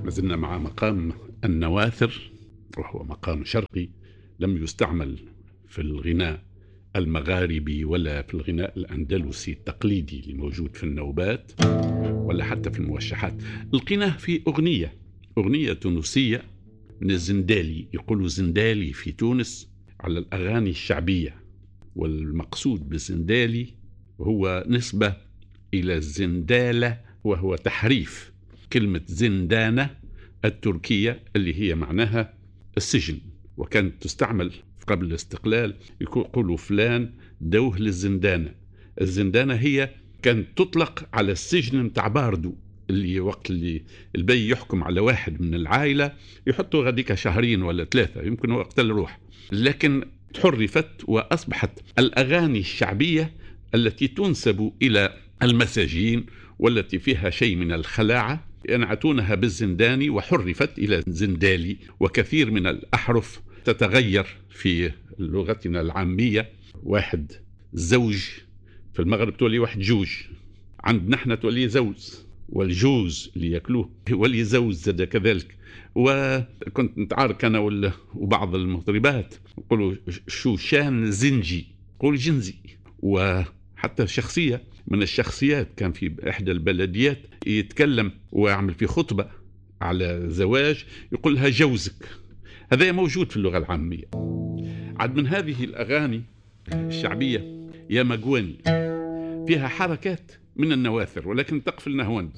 ما زلنا مع مقام النواثر، وهو مقام شرقي لم يستعمل في الغناء المغاربي ولا في الغناء الأندلسي التقليدي اللي موجود في النوبات ولا حتى في الموشحات. لقيناه في أغنية تونسية من الزندالي، يقولوا زندالي في تونس على الأغاني الشعبية، والمقصود بالزندالي هو نسبة إلى الزندالة، وهو تحريف كلمة زندانة التركية اللي هي معناها السجن، وكانت تستعمل قبل الاستقلال، يقولوا فلان دوه للزندانة. الزندانة هي كانت تطلق على السجن متاع باردو، اللي وقت اللي البي يحكم على واحد من العائلة يحطوا غاديك شهرين ولا 3، يمكن هو قتل روح. لكن تحرفت وأصبحت الأغاني الشعبية التي تنسب إلى المساجين والتي فيها شيء من الخلاعة ينعتونها بالزنداني، وحرفت إلى زندالي. وكثير من الأحرف تتغير في لغتنا العامية. واحد زوج في المغرب تولي واحد جوج، عندنا احنا تولي زوز، والجوز اللي ياكلوه ولي زوز زاد كذلك. وكنت نتعارك انا وبعض المطربات نقولوا شوشان زنجي، قول جنزي. وحتى شخصية من الشخصيات كان في إحدى البلديات يتكلم ويعمل في خطبة على زواج يقول لها جوزك. هذا موجود في اللغة العامية. عد من هذه الأغاني الشعبية يا مقواني، فيها حركات من النواثر ولكن تقفل نهوند.